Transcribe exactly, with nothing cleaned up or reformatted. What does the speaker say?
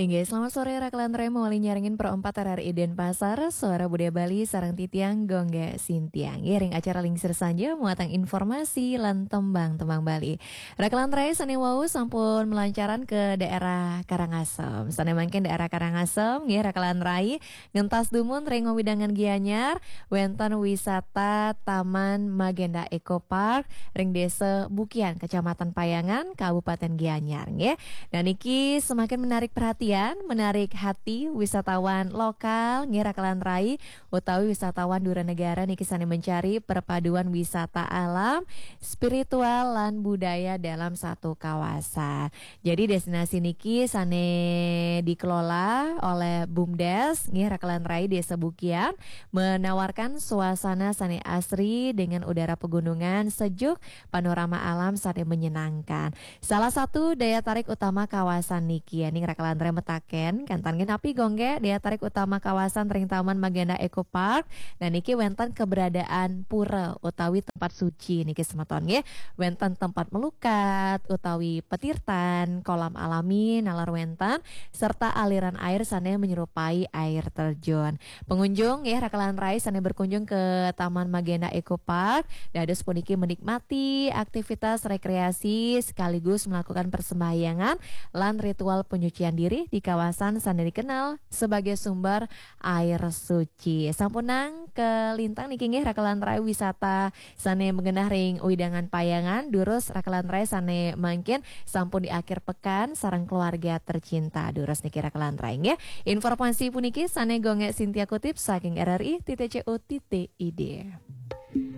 Inggih, selamat sore Raka lan Rai, mawali nyarengin Pro empat R R I Denpasar, Suara Budaya Bali, sareng titiang Gongge Sintiang. Nggih, ring acara Lingsir Sanja, muatang informasi lan tembang-tembang Bali. Raka lan Rai, sane wau sampun melancaran ke daerah Karangasem. Sane mangkin daerah Karangasem, nggih Raka lan Rai, ngentas dumun ring wewidangan Gianyar, wenten wisata Taman Magenda Eco Park ring Desa Bukian, Kecamatan Payangan, Kabupaten Gianyar, nggih. Nah, niki semakin menarik perhatian, menarik hati wisatawan lokal, nggih Raka lan Rai, utawi wisatawan dura negara niki sane mencari perpaduan wisata alam, spiritual, lan budaya dalam satu kawasan. Jadi destinasi niki sane dikelola oleh BUMDes, nggih Raka lan Rai, Desa Bukian, menawarkan suasana sane asri dengan udara pegunungan sejuk, panorama alam sane menyenangkan. Salah satu daya tarik utama kawasan niki, ya, ning Raka lan Rai metaken, kantan nggih napi Gongge daya tarik utama kawasan ring Taman Magenda Eco Park? Nah, niki wenten keberadaan pura utawi tempat suci niki semeton, nggih. Wenten tempat melukat utawi petirtan, kolam alami nalar wenten, serta aliran air sane menyerupai air terjun. Pengunjung, nggih Raka lan Rai, sane berkunjung ke Taman Magenda Eco Park, dados puniki menikmati aktivitas rekreasi sekaligus melakukan persembahyangan lan ritual penyucian diri di kawasan sane dikenal sebagai sumber air suci. Sampunang kelintang niki, nggih Raka lan Rai, wisata sane magenah ring wewidangan Payangan, durus Raka lan Rai sane mangkin sampun di akhir pekan sareng keluarga tercinta. Durus niki Raka lan Rai, nggih. Informasi puniki sane Gongge Sintia kutip saking R R I titik C O titik I D.